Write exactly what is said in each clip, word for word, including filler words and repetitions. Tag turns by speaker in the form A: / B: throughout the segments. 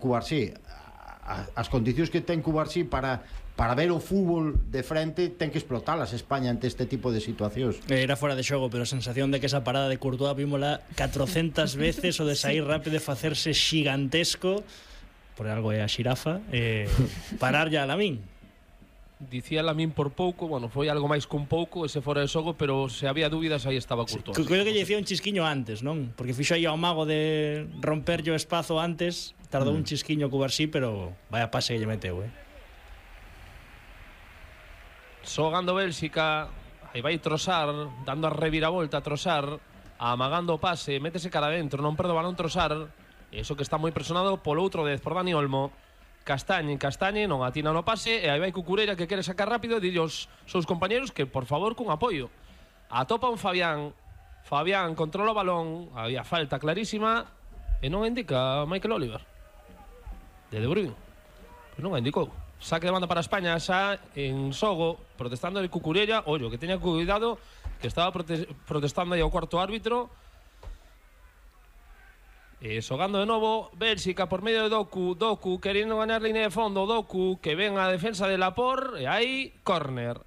A: Cubarsí, as condicións que ten Cubarsí para para ver o fútbol de frente ten que explotalas España ante este tipo de situacións.
B: Era fora de xogo, pero a sensación de que esa parada de Courtois vímola catrocentas veces, o de sair rápido e facerse xigantesco, por algo é a xirafa, eh, parar ya a Lamín.
C: Dicía Lamín por pouco, bueno, foi algo máis con pouco ese fora de xogo, pero se había dúbidas aí estaba Courtois.
B: Sí, creo que lle dicía un chisquiño antes, non? Porque fixo aí ao mago de romperlle o espazo antes, tardou mm. un chisquiño Cubarsí, pero vaya pase que lle meteu, eh.
C: Xogando Bélxica, aí vai Trossard, dando a reviravolta a Trossard, amagando o pase, métese cara adentro, non perde o balón Trossard, eso que está moi presionado polo outro dez por Dani Olmo. Castañe, Castañe, non atina no pase, e aí vai Cucurella que quere sacar rápido e dille aos seus compañeros que, por favor, cun apoio. Atopa un Fabián, Fabián controla o balón, había falta clarísima, e non indica Michael Oliver. De De Bruyne, pois non a indicou. Saque de banda para España, xa en xogo, protestando de Cucurella. Ollo, que teña cuidado, que estaba prote protestando aí ao cuarto árbitro. E xogando de novo Bélxica por medio de Doku. Doku queriendo ganar línea de fondo. Doku que ven a defensa de Laporte. E aí, córner.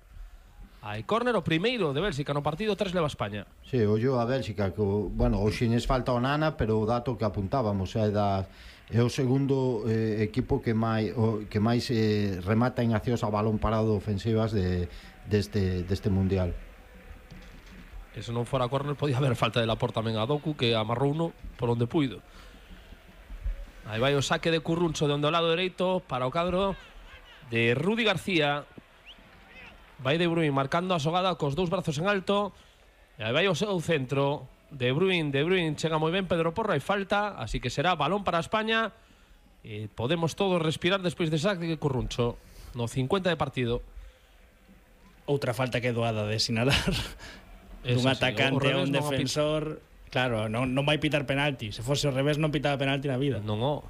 C: Hai córner, o primeiro de Bélxica no partido. Tres leva España.
A: Sí, ollo a Bélxica que, bueno, hoxe nes falta o Nana, pero o dato que apuntábamos é da é o segundo eh, equipo que máis o, que máis eh, remata en accións a balón parado ofensivas de deste deste mundial.
C: E se non fora córner podía haber falta de Laporte tamén a Doku, que amarrou uno por onde puido. Aí vai o saque de Curruncho de onde ao lado dereito para o cadro de Rudi García. Vai De Bruyne marcando a xogada cos dous brazos en alto. E aí vai o seu centro De Bruyne, De Bruyne chega moi ben Pedro Porro, hai falta, así que será balón para España. E podemos todos respirar despois de saque de Curruncho no cincuenta de partido.
B: Outra falta que é doada de sinalar. Dun atacante a un defensor. Claro, non, non vai pitar penalti. Se fose ao revés non pitaba penalti na vida.
C: Non, o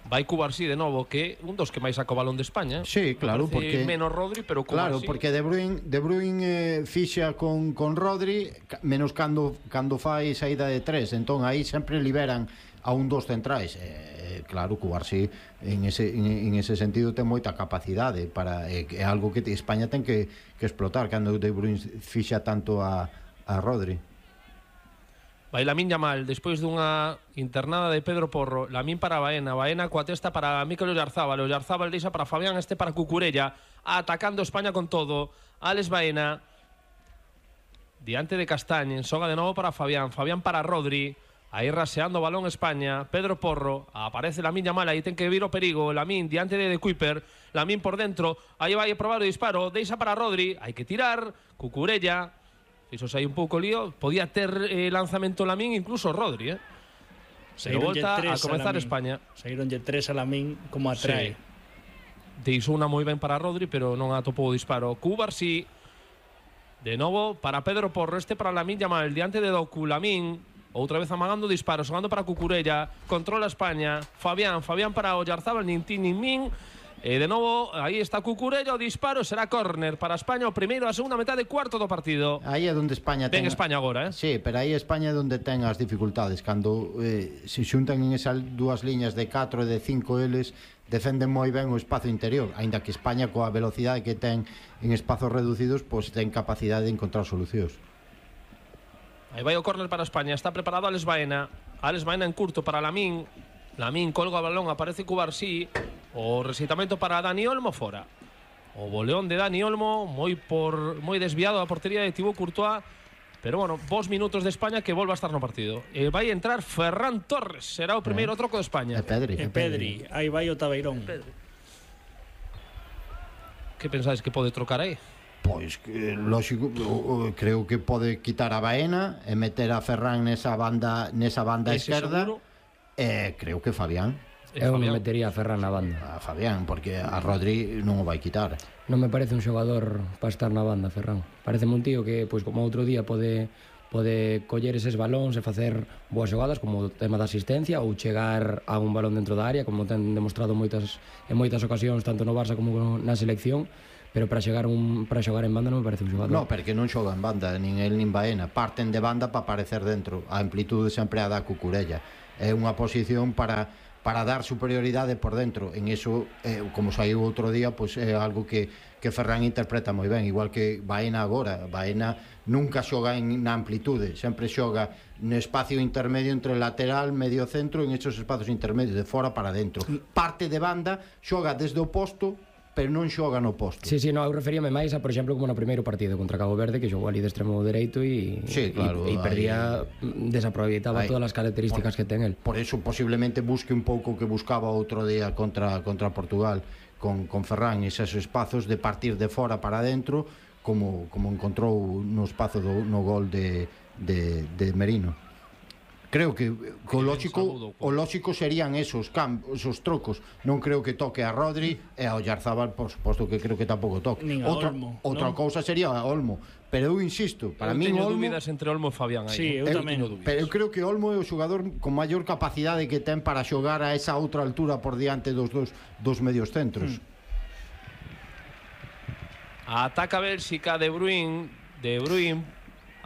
C: vai Cubarsí de novo, que un dos que máis saca o balón de España.
A: Sí, claro, porque
C: menos Rodri, pero Cubarsí.
A: Claro, porque De Bruyne, De Bruyne eh, fixa con, con Rodri, menos cando, cando fai saída de tres. Entón aí sempre liberan a un dos centrais. Eh, claro, Cubarsí en ese, en, en ese sentido ten moita capacidade para, é eh, algo que España ten que, que explotar cando De Bruyne fixa tanto a, a Rodri.
C: Vai Lamín Yamal, despois dunha internada de Pedro Porro. Lamín para Baena, Baena coa testa para Mikel Oyarzábal. Oyarzábal deixa para Fabián, este para Cucurella. Atacando España con todo. Alex Baena diante de Castañe, xoga de novo para Fabián. Fabián para Rodri. Aí raseando o balón España. Pedro Porro, aparece Lamín Yamal, aí ten que vir o perigo. Lamín diante de De Kuiper. Lamín por dentro, aí vai a probar o disparo. Deixa para Rodri, hai que tirar. Cucurella, fixo aí un pouco lío. Podía ter eh, lanzamento Lamín, incluso Rodri, eh? Se volta a comenzar a España.
B: Saíronlle tres a Lamín como atrae. Sí.
C: Deixou unha moi ben para Rodri, pero non atopou o disparo. Cubarsí, de novo para Pedro Porro, este para Lamín Yamal, diante de Doku. Lamín, outra vez amagando o disparo, xogando para Cucurella. Controla España. Fabián, Fabián para Oyarzábal, nin tin nin min. E de novo, aí está Cucurella, o disparo será córner para España, o primeiro a segunda metade, cuarto do partido.
A: Aí é onde España ten...
C: Ben España agora, eh?
A: Sí, pero aí España é onde ten as dificultades. Cando eh, se xuntan en esas dúas liñas de catro e de cinco eles, defenden moi ben o espazo interior, aínda que España coa velocidade que ten en espazos reducidos, pois ten capacidade de encontrar solucións.
C: Aí vai o córner para España, está preparado Alex Baena. Alex Baena en curto para Lamín. Lamín colga o balón, aparece Cubarsí. O resitamento para Dani Olmo fora. O boleón de Dani Olmo, moi por moi desviado a portería de Thibaut Courtois. Pero bueno, vos minutos de España que volva a estar no partido. E vai entrar Ferran Torres, será o primeiro eh. troco de España.
A: E Pedri,
B: e Pedri, aí vai o Tabeirón.
C: Que pensáis que pode trocar aí?
A: Pois, que, lógico, creo que pode quitar a Baena e meter a Ferran nesa banda nesa banda esquerda. E creo que Fabián.
D: Eu non metería a Ferran na banda.
A: A Fabián, porque a Rodri non o vai quitar.
D: Non me parece un xogador para estar na banda, Ferran. Parece un tío que, pois como outro día, pode pode coller eses balóns e facer boas xogadas, como o tema da asistencia, ou chegar a un balón dentro da área, como ten demostrado moitas en moitas ocasións, tanto no Barça como na selección. Pero para chegar un para xogar en banda non me parece un xogador.
A: No, porque non xoga en banda, nin el nin Baena. Parten de banda para aparecer dentro. A amplitude sempre a da Cucurella. é unha posición para para dar superioridade por dentro. En eso, eh, como saiu outro día, pois é algo que, que Ferran interpreta moi ben, igual que Baena agora. Baena nunca xoga en, na amplitude, sempre xoga no espacio intermedio entre lateral, medio centro, en esos espacios intermedios, de fora para dentro. Parte de banda, xoga desde o posto, pero non xoga no posto.
D: Sí, sí, no, eu referíame máis a, por exemplo, como no primeiro partido contra Cabo Verde, que xogou ali de extremo dereito e
A: sí, claro,
D: e, e perdía,
A: ahí,
D: desaproveitaba ahí, todas as características
A: por,
D: que ten el.
A: Por eso posiblemente busque un pouco que buscaba outro día contra contra Portugal con, con Ferran, esos espazos de partir de fora para dentro, como, como encontrou no espazo do, no gol de, de, de Merino. Creo que o lógico, o lógico serían esos campos, esos trocos. Non creo que toque a Rodri e a Oyarzabal, por suposto que creo que tampouco toque. Outra,
B: Olmo,
A: outra
B: ¿no?
A: cousa sería a Olmo, pero eu insisto, para
C: eu
A: mí
C: teño
A: Olmo,
C: dúbidas entre Olmo e Fabián aí.
B: Sí, eu,
A: eu
B: tamén.
A: pero eu creo que Olmo é o xogador con maior capacidade que ten para xogar a esa outra altura por diante dos dos, dos medios centros.
C: Hmm. Ataca Bélxica, De Bruyne, De Bruyne.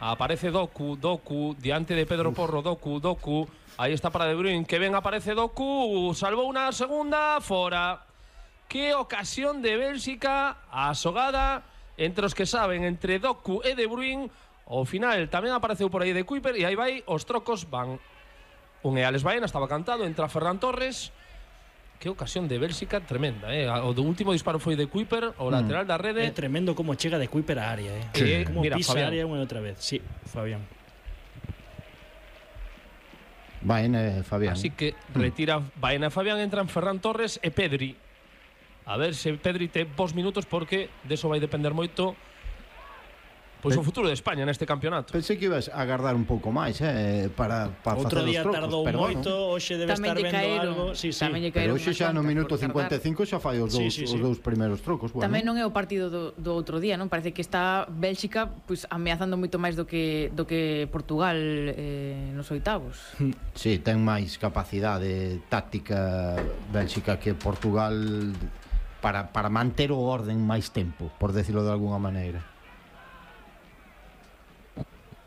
C: Aparece Doku, Doku, diante de Pedro Porro, Doku, Doku. Ahí está para De Bruyne, que ven, aparece Doku. Salvou unha segunda, fora. Que ocasión de Bélxica, a xogada entre os que saben, entre Doku e De Bruyne. Ao final tamén apareceu por aí de Kuiper e aí vai, os trocos van. Un e Alex Baena, estaba cantado, entra Ferran Torres. Que ocasión de Bélxica tremenda, eh? O do último disparo foi de Kuiper, o lateral da rede.
B: É tremendo como chega de Kuiper a área, eh.
C: Sí.
B: Como
C: Mira,
B: pisa a
C: Fabián.
B: área unha e outra vez. Sí, Fabián.
A: Baena, Fabián.
C: Así que retira Baena e Fabián, entran Ferran Torres e Pedri. A ver se Pedri te vos minutos, porque deso vai depender moito pois o futuro de España neste campeonato.
A: Pensei que ibas a agardar un pouco máis, eh, para, para
B: Outro
A: facer os
B: día
A: trocos,
B: tardou
A: pero
B: moito,
A: bueno.
B: hoxe debe
E: Tamén
B: estar
E: lle
B: vendo
E: caeron,
B: algo. Sí, sí.
E: tamén lle
A: Pero
E: caeron
A: hoxe
E: unhas
A: xa no
E: cuantas
A: minuto
E: por
A: cincuenta e
E: tardar.
A: cinco xa fai os
B: Sí,
A: dous,
B: sí, sí.
A: os dous primeiros trocos. Bueno.
E: Tamén non é o partido do, do outro día, non? Parece que está Bélxica pois, ameazando moito máis do que, do que Portugal eh, nos oitavos.
A: Sí, ten máis capacidade táctica Bélxica que Portugal para, para manter o orden máis tempo, por decirlo de alguna maneira.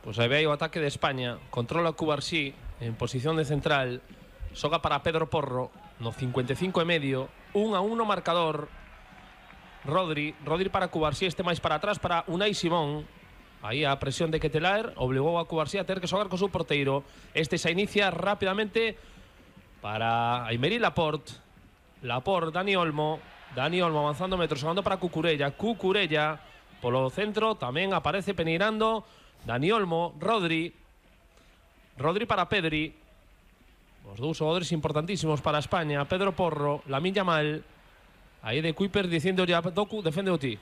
C: Pois aí vai o ataque de España. Controla Cubarsí en posición de central. Xoga para Pedro Porro no cincuenta e cinco e medio. un a uno marcador. Rodri, Rodri para Cubarsí, este máis para atrás para Unai Simón. Aí a presión de Ketelaer obligou a Cubarsí a ter que xogar co seu porteiro. Este se inicia rápidamente para Aymeri Laporte. Laporte, Dani Olmo. Dani Olmo avanzando metros, xogando para Cucurella. Cucurella polo centro, tamén aparece peneirando Dani Olmo, Rodri. Rodri para Pedri. Os dous xogadores importantísimos para España. Pedro Porro, Lamine Yamal. Aí de Kuiper dicindo ya Doku, defende o ti.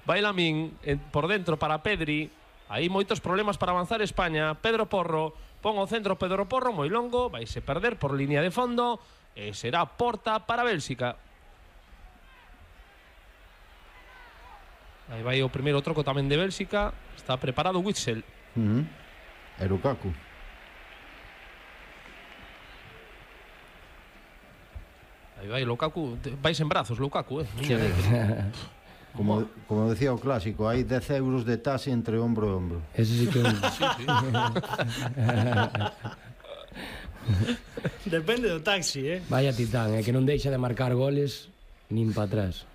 C: Vai Lamine por dentro para Pedri. Aí moitos problemas para avanzar España. Pedro Porro, pon o centro Pedro Porro, moi longo, vaise perder por línea de fondo e será porta para Bélxica. Aí vai o primeiro troco tamén de Bélxica. Está preparado Witsel.
A: Uh -huh. E Lukaku.
C: Aí vai Lukaku, vais en brazos Lukaku, eh.
A: Sí. Como, como decía o clásico, hai dez euros de taxe entre ombro e ombro.
D: Ese sí que...
C: Sí, sí.
B: Depende do taxi, eh.
D: Vaya titán, é que non deixa de marcar goles nin para atrás.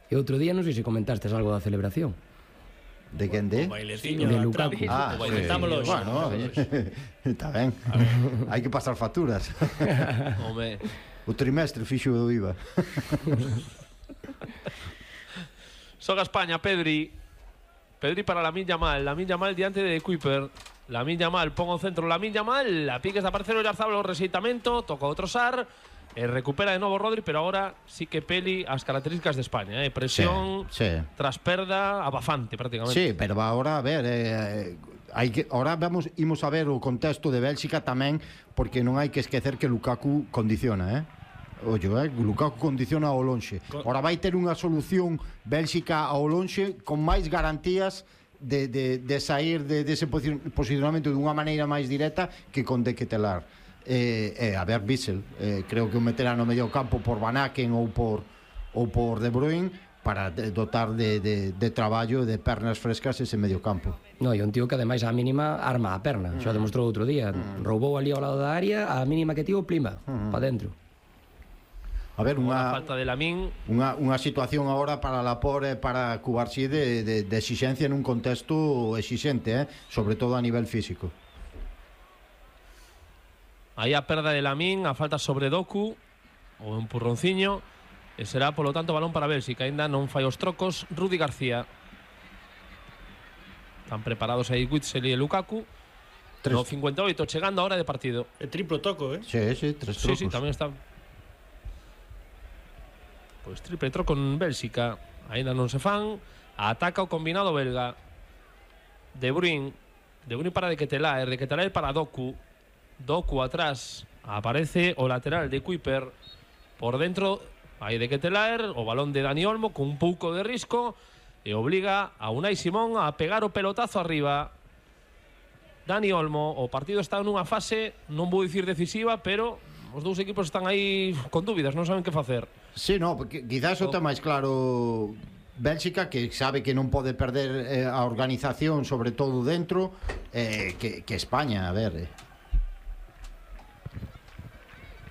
D: E outro día non sei se comentaste algo da celebración.
A: De quen de?
B: O baileciño
D: De
B: da
D: Lukaku.
B: trapa.
A: Ah,
B: O bailetámolo hoxe.
A: Bueno, está ben. Hai que pasar facturas.
C: Home,
A: O trimestre fixo do I V A.
C: xoga España, Pedri. Pedri para Lamine Yamal. Lamine Yamal diante de Kuiper. Lamine Yamal, pon o centro Lamine Yamal. A piques de aparecer o Oyarzabal, o rexeitamento. Toca outro Sar. E recupera de novo Rodri, pero agora sí que peli as características de España, eh? Presión,
A: Sí, sí.
C: tras perda, abafante prácticamente.
A: Sí, pero agora a ver, eh, hai que ahora vamos imos a ver o contexto de Bélxica tamén, porque non hai que esquecer que Lukaku condiciona, eh? Ollo, eh? Lukaku condiciona ao lonxe. Ahora vai ter unha solución Bélxica ao lonxe con máis garantías de, de, de sair de, dese de posicionamento dunha maneira máis directa que con De Ketelaer. Eh, eh, a ver, Witsel, eh, creo que o meterá no medio campo por Van Aken ou por ou por De Bruyne, para dotar de, de, de traballo, de pernas frescas ese medio campo.
D: No, e un tío que ademais á mínima arma a perna, mm. xa demostrou outro día, mm. roubou ali ao lado da área, a mínima que tivo plima, mm. pa dentro.
A: A ver, unha
C: falta de Lamín,
A: unha unha situación agora para Laporte e para Cubarsí de, de, de exigencia nun contexto exixente, eh? Sobre todo a nivel físico.
C: Aí a perda de Lamín, a falta sobre Doku, o empurronciño, e será, polo tanto, balón para Bélxica. Ainda non fai os trocos Rudi García. Están preparados aí Witsel e Lukaku. Tres. No cincuenta e oito, chegando a hora de partido.
B: E triplo toco, eh?
A: Sí, sí, tres trocos.
C: Sí, sí, tamén está. Pois triple troco en Bélxica. Ainda non se fan. Ataca o combinado belga. De Bruyne. De Bruyne para De Ketelaer. De Ketelaer para Doku. Doku atrás. Aparece o lateral de Kuiper. Por dentro, aí De Ketelaer. O balón de Dani Olmo con un pouco de risco. E obliga a Unai Simón a pegar o pelotazo arriba. Dani Olmo. O partido está nunha fase, non vou dicir decisiva, pero os dous equipos están aí con dúbidas, non saben que facer.
A: Sí, no, porque quizás o tema máis claro Bélxica, que sabe que non pode perder eh, a organización, sobre todo dentro, eh, que, que España, a ver. Eh.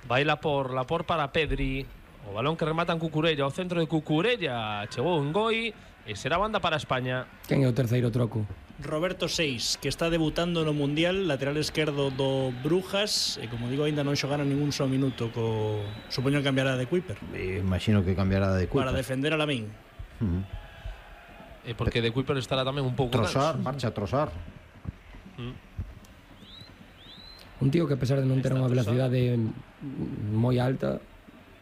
C: Baila por la por para Pedri. O balón que remata en Cucurella, o centro de Cucurella chegou en Goi e será banda para España.
D: Quen é o terceiro troco?
B: Roberto Seix, que está debutando no Mundial, lateral esquerdo do Brujas, e como digo, aínda non xogara ningún só minuto co... Supoño que cambiará de Kuiper.
A: E imagino que cambiará de Kuiper.
B: Para defender a Lamín.
A: Uh-huh.
C: E porque de Kuiper estará tamén un pouco
A: Trossard, marcha a Trossard.
C: Mm.
D: Un tío que a pesar de non ter unha velocidade moi alta,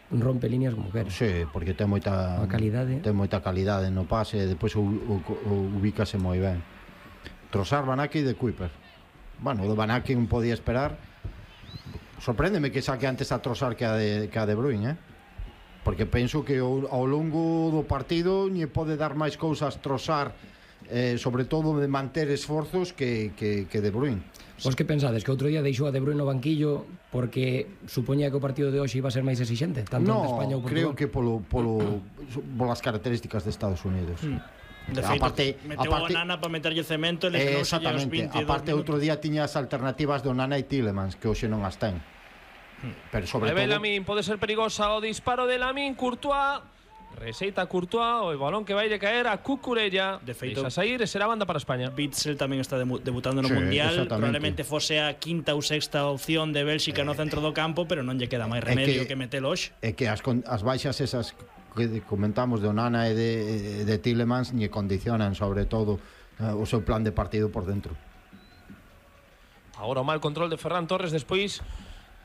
D: rompe líneas como quer.
A: Sí, porque ten moita
D: a calidade.
A: Ten moita calidade no pase, e depois o, o, o ubícase moi ben. Trossard, Van Aken de Kuiper. Bueno, do Van Aken podía esperar. Sorpréndeme que saque antes a Trossard que a de, que a de Bruyne, eh? Porque penso que ao, ao longo do partido lle pode dar máis cousas Trossard, eh, sobre todo de manter esforzos que, que, que de Bruyne.
D: Vos que pensades? Que outro día deixou a De Bruyne no banquillo porque supoñía que o partido de hoxe iba a ser máis exixente, tanto
A: no,
D: ante España ou Portugal?
A: creo que polo, polo, polas características de Estados Unidos. Mm.
B: De feito, aparte, meteu aparte, a Onana para meterlle cemento e le eh,
A: exactamente, aparte outro día tiña as alternativas de Onana e Tielemans, que hoxe non as ten. Pero sobre todo
C: Lamín, pode ser perigosa o disparo de Lamín. Courtois reseita Courtois, o balón que vai de caer a Cucurella. De feito, deixa sair e será banda para España.
B: Witsel tamén está debutando no sí, Mundial. Probablemente fose a quinta ou sexta opción de Bélxica eh, no centro do campo, pero non lle queda máis remedio que, que metelo hoxe.
A: É que as, as baixas esas que comentamos de Onana e de, de Tielemans lle condicionan sobre todo uh, o seu plan de partido por dentro.
C: Agora o mal control de Ferran Torres despois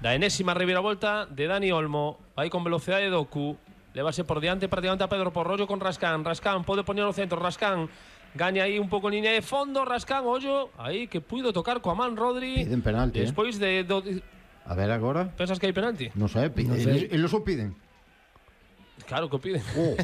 C: da enésima reviravolta de Dani Olmo. Vai con velocidade de Doku. Levase por diante prácticamente a Pedro Porro con Rascán. Rascán pode poñer o centro. Rascán gaña aí un pouco en línea de fondo. Rascán, ollo, aí que puido tocar coa man Rodri.
A: Piden penalti,
C: despois
A: eh?
C: de... Do...
A: A ver agora.
C: Pensas que hai penalti?
A: Non sei, piden. No sé. Eles o piden.
C: Claro que o piden. Oh,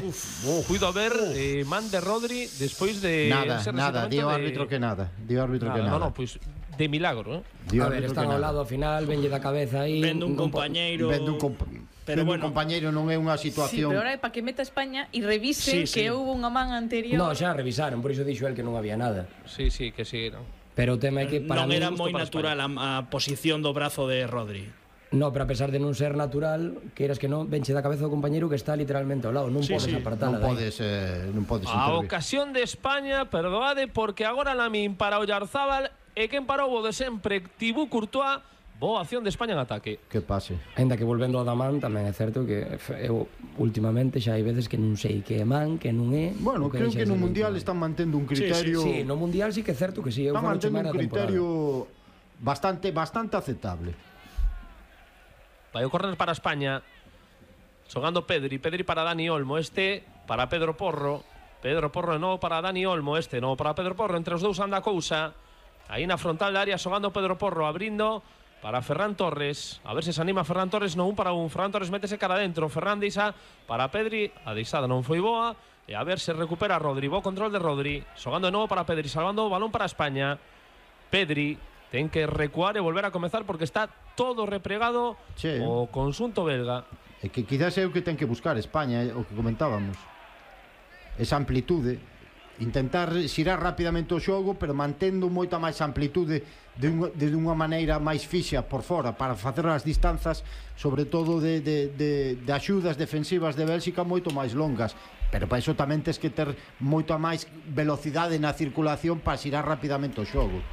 C: oh, Puido haber oh. eh, man de Rodri despois de...
A: Nada, nada, dio árbitro de... que nada. Dio árbitro nada, que nada.
C: No, no, pois... Pues, de milagro, eh?
D: Dio a ver, están ao lado ao final, venlle da cabeza aí.
B: Vende un compañeiro.
A: Vende un compañeiro. Pero bueno, un compañeiro non é unha situación.
E: Sí, pero ahora é para que meta España e revisen sí, sí. que houve unha man anterior.
D: No, xa revisaron, por iso dixo el que non había nada.
C: Sí, sí, que sí, non.
D: Pero o tema é que para
B: non era moi natural a, a posición do brazo de Rodri.
D: No, pero a pesar de non ser natural, queiras que non, venche da cabeza do compañeiro que está literalmente ao lado, non sí, podes sí. apartala.
A: Non podes, eh, non podes
C: a ocasión de España, perdoade, porque agora Lamín para Oyarzábal e quen parou o de sempre, Thibaut Courtois. Boa acción de España en ataque.
A: Que pase.
D: Ainda que volvendo ao da man, tamén é certo que eu últimamente xa hai veces que non sei que é man, que non é.
A: Bueno, creo que no Mundial están mantendo un criterio.
D: Sí, sí, sí, no Mundial sí que é certo que sí, eu
A: están mantendo un criterio bastante bastante aceptable.
C: Vai o correr para España. Xogando Pedri, Pedri para Dani Olmo, este para Pedro Porro. Pedro Porro de novo para Dani Olmo, este novo para Pedro Porro, entre os dous anda a cousa. Aí na frontal da área xogando Pedro Porro, abrindo para Ferran Torres, a ver se se anima Ferran Torres, no un para un. Ferran Torres métese cara adentro, Ferran deixa para Pedri, a deixada non foi boa, e a ver se recupera Rodri, bo control de Rodri, xogando de novo para Pedri, salvando o balón para España. Pedri ten que recuar e volver a comezar porque está todo repregado sí. o conxunto belga.
A: É que quizás é o que ten que buscar España, o que comentábamos. esa amplitude, intentar xirar rapidamente o xogo, pero mantendo moita máis amplitude de, un, de unha maneira máis fixa por fora, para facer as distanzas, sobre todo de, de, de, de axudas defensivas de Bélxica moito máis longas, pero para iso tamén tens que ter moita máis velocidade na circulación para xirar rapidamente o xogo.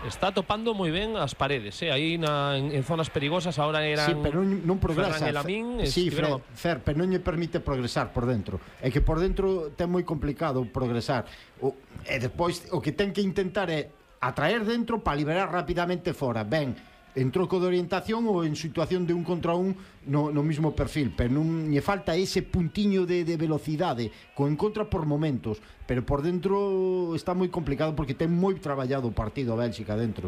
C: Está topando moi ben as paredes, eh? Aí na, en, en zonas perigosas ahora eran...
A: Sí, pero non, non progresa.
C: Ferran e Lamín,
A: sí,
C: estiveron...
A: Fer, Fer, pero non lle permite progresar por dentro. É que por dentro ten moi complicado progresar. O, e despois o que ten que intentar é atraer dentro para liberar rapidamente fora. Ben, en troco de orientación ou en situación de un contra un no, no mismo perfil, pero non lle falta ese puntiño de, de velocidade co encontra por momentos, pero por dentro está moi complicado porque ten moi traballado o partido a Bélxica dentro.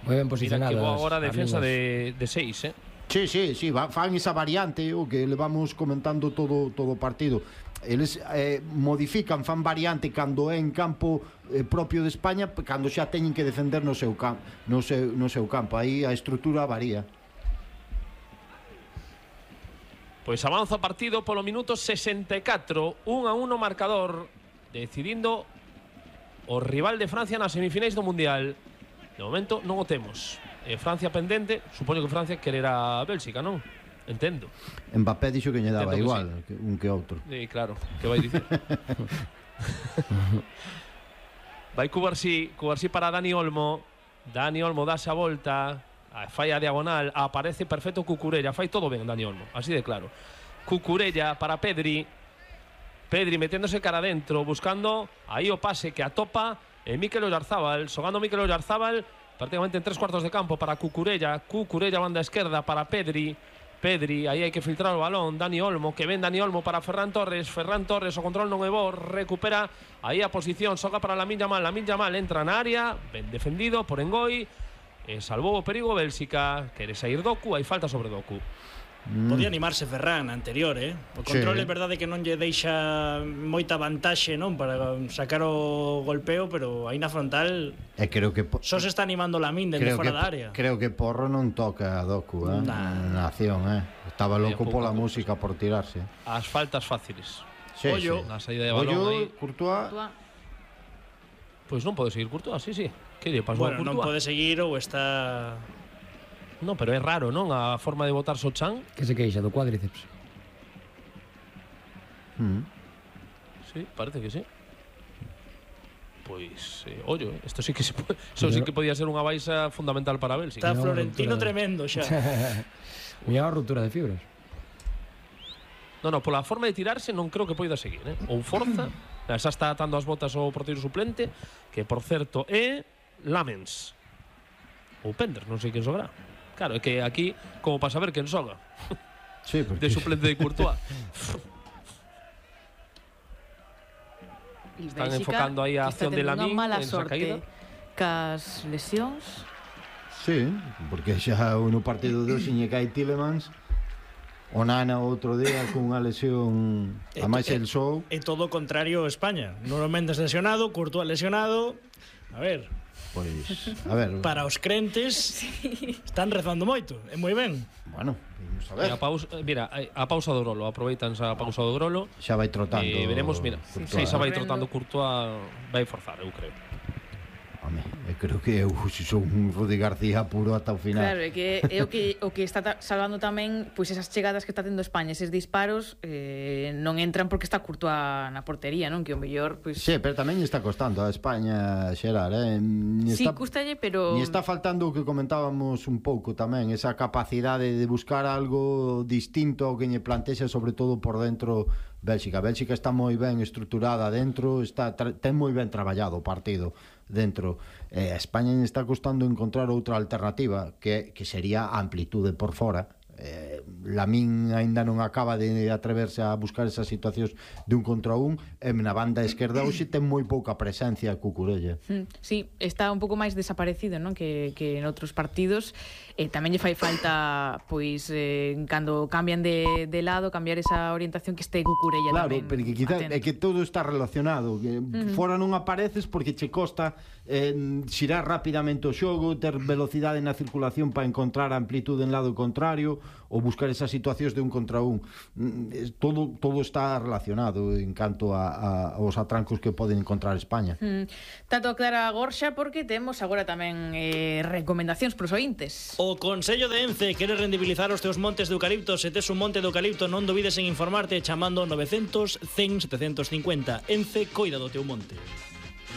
D: Moi ben
C: Mira
D: posicionadas.
C: que boa agora a defensa de, de seis, eh?
A: Sí, sí, sí, va, fan esa variante o que le vamos comentando todo todo o partido. Eles eh, modifican, fan variante cando é en campo eh, propio de España, cando xa teñen que defender no seu, cam no seu, no seu campo. Aí a estrutura varía.
C: Pois avanza o partido polo minuto sesenta e catro, un a uno marcador, decidindo o rival de Francia nas semifinais do Mundial. De momento non o temos. Eh, Francia pendente, supoño que Francia quererá a Bélxica, non? Entendo.
A: Mbappé dixo que lle daba
C: Entendo que
A: igual
C: sí.
A: que un que outro.
C: Sí, claro, que vai dicir. Vai Cubarsí, Cubarsí para Dani Olmo. Dani Olmo dase a volta, a falla diagonal, aparece perfecto Cucurella, fai todo ben Dani Olmo, así de claro. Cucurella para Pedri. Pedri meténdose cara adentro, buscando aí o pase que atopa eh, Mikel Oyarzabal, xogando Mikel Oyarzabal prácticamente en tres cuartos de campo para Cucurella. Cucurella banda esquerda para Pedri. Pedri, aí hai que filtrar o balón. Dani Olmo, que ven Dani Olmo para Ferran Torres. Ferran Torres, o control non é bo, recupera aí a posición, xoga para Lamine Yamal. Lamine Yamal entra na área, ben defendido por Engoi, e salvou o perigo Bélxica. Quere sair Doku, hai falta sobre Doku.
B: Mm. Podía animarse Ferran anterior, eh? O control
A: Sí.
B: é verdade que non lle deixa moita vantaxe, non, para sacar o golpeo, pero aí na frontal
A: E creo que
B: só se está animando Lamine dende
A: creo
B: fora
A: que,
B: da área.
A: creo que Porro non toca a Doku, eh?
B: Nah.
A: Na acción, eh? Estaba loco
C: pouco,
A: pola
C: pouco.
A: música por tirarse.
C: As faltas fáciles.
A: Sí,
B: Ollo.
A: sí.
C: Na saída de balón aí.
A: Ollo, Courtois.
C: Pois non pode seguir Courtois, sí, sí. Que lle pasou
B: Bueno,
C: a
B: non
C: Courtois?
B: pode seguir ou está...
C: Non, pero é raro, non? A forma de botar Sochan.
D: Que se queixa do cuádriceps.
A: Mm.
C: Sí, parece que sí. Pois, eh, ollo, isto sí que se pode, eso sí que podía ser unha baixa fundamental para Bélxica.
B: Está
D: No,
B: Florentino
D: ruptura de-
B: tremendo xa.
D: Mira a ruptura de fibras.
C: Non, non, pola forma de tirarse non creo que poida seguir, eh? Ou forza, xa está atando as botas o porteiro suplente, que por certo é Lamens. Ou Pender, non sei quen xogará. Claro, é que aquí, como para saber quen xoga.
A: Sí, porque
C: De suplente de Courtois. Están enfocando aí a acción de Lamine
E: mala
C: en esa
E: sorte
C: caída.
E: cas lesións.
A: sí, porque xa no partido de hoxe lle cae Tielemans. O Nana outro día cunha lesión, a máis el show.
B: É todo o contrario a España. Nuno Mendes lesionado, Courtois lesionado. A ver,
A: Pois, a ver,
B: para os crentes están rezando moito, é moi ben.
A: bueno, vamos a
C: E
A: ver.
C: a pausa, mira, a pausa do Grolo, aproveitan a pausa do Grolo.
A: Xa vai trotando.
C: E veremos, mira,
A: Courtois.
C: sí, xa vai
E: Correndo.
C: trotando Courtois, vai forzar, eu creo.
A: Home, eu creo que eu son un Rudi García puro ata o final.
E: Claro, é que é o que o que está ta- salvando tamén pois esas chegadas que está tendo España, eses disparos eh, non entran porque está Courtois na portería, non? Que o mellor pois
A: Sí, pero tamén lle está costando a España xerar, eh? Ni
E: sí,
A: está,
E: custalle, pero
A: ni está faltando o que comentábamos un pouco tamén, esa capacidade de buscar algo distinto ao que lle plantexa, sobre todo por dentro Bélxica. Bélxica está moi ben estruturada dentro, está tra- ten moi ben traballado o partido dentro. Eh, a España lle está costando encontrar outra alternativa que, que sería a amplitude por fora. Eh, Lamín aínda non acaba de atreverse a buscar esas situacións de un contra un, e na banda esquerda hoxe ten moi pouca presencia Cucurella.
E: Mm, sí, está un pouco máis desaparecido, non? Que, que en outros partidos. Eh, tamén lle fai falta, pois, eh, cando cambian de, de lado, cambiar esa orientación que este Cucurella
A: Claro,
E: tamén.
A: pero que quizá
E: atento.
A: é que todo está relacionado, que uh-huh. fora non apareces porque che costa eh, xirar rapidamente o xogo, ter velocidade na circulación para encontrar a amplitude en lado contrario, ou buscar esas situacións de un contra un. Todo, todo está relacionado en canto a, a, aos atrancos que poden encontrar España.
E: Mm. Tanto aclara Gorxa porque temos agora tamén eh, recomendacións pros ointes.
B: O Consello de Ence quere rendibilizar os teus montes de eucalipto. Se tes un monte de eucalipto non dubides en informarte chamando novecientos, cen, setecientos cincuenta. Ence coida do teu monte.